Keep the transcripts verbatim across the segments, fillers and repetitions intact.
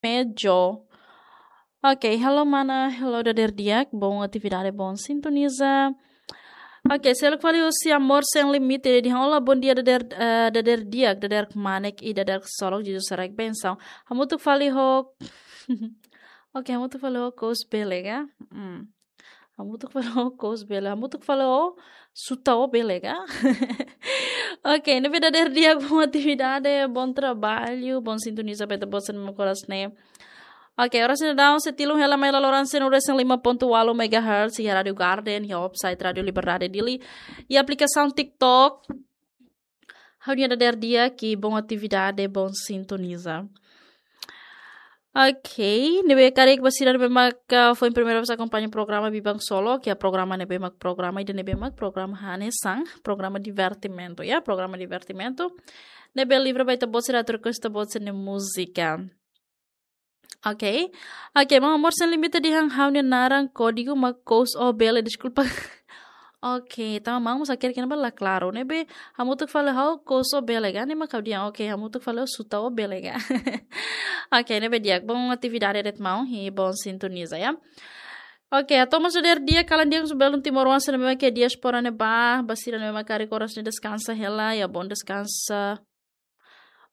Mejo. Ok, halo mana, halo dader di'ak, bom atividade, bom sintoniza. Ok, seluk fali husi Amor Sem Limite, dehan olá, bom dia dader, eh, dader di'ak, dader kmanek i dader ksolok, Jesus haraik bensaun. Hamutuk fali ho. Ok, hamutuk fali ho kous bele ka? Hmm. Hamutuk fali ho kous bele, hamutuk fali ho suta ó bele ka? Ok, ne'ebé dader di'ak, bom atividade, bom trabalho, bom sintoniza ba ita-boot sira-nia korasaun ne'e. Ok, oras ne'e daudaun sei tilun hela mai laloran sanulu-resin-lima pontu ualu megahertz, iha Rádio Garden, iha website Rádio Liberdade Dili, iha aplikasaun TikTok. Ha'u-nia dader di'ak, bom atividade, bom sintoniza. Ok, ne'ebé karik ba sira ne'ebé mak, ah, foin primeira vez akompaña programa Biban Solo, ke programa ne'ebé mak programa ida ne'ebé mak programa hanesan, programa divertimentu, ya, programa divertimentu. Ne'ebé livre ba ita-boot sira atu rekoñese ita-boot sira-nia múzika. Ok. Ok, maun Amor Sem Limite dehan ha'u-nia naran kódigu mak kous ó bele, deskulpa. Ok, tanba maun mós hakerek iha ne'ebá la klaru. Ne'ebé hamutuk fali ho kous ó bele ka, ne'e mak ha'u dehan. Ok, hamutuk fali ho suta ó bele ka. Ok, ne'ebé di'ak, bom atividade de'it maun, i bom sintoniza, ya. Ok, atu mós dader di'ak, kalan di'ak husi belun timoroan sira ne'ebé mak iha diáspora ne'ebá, ba sira ne'ebé mak karik oras ne'e deskansa hela, ya, bom deskansa.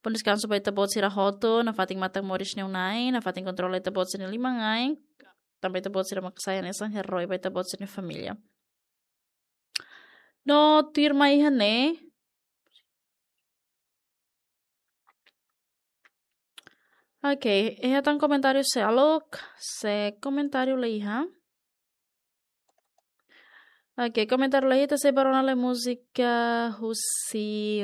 Bom deskansu ba ita-boot sira hotu, nafatin matak moris ne'e Na'i, nafatin kontrola ita-boot sira-nia liman-ain, tanba ita-boot sira mak sai hanesan herói ba ita-boot sira-nia família. No tuirmai iha ne'e. Ok, iha tan komentáriu seluk, se komentáriu la iha. Ok, komentáriu la iha, ita sei bá rona lai múzika husi.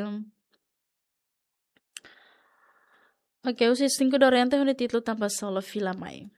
Ok, husi Cinco Dorente, hodi títulu Tanba Solo Fila Mai.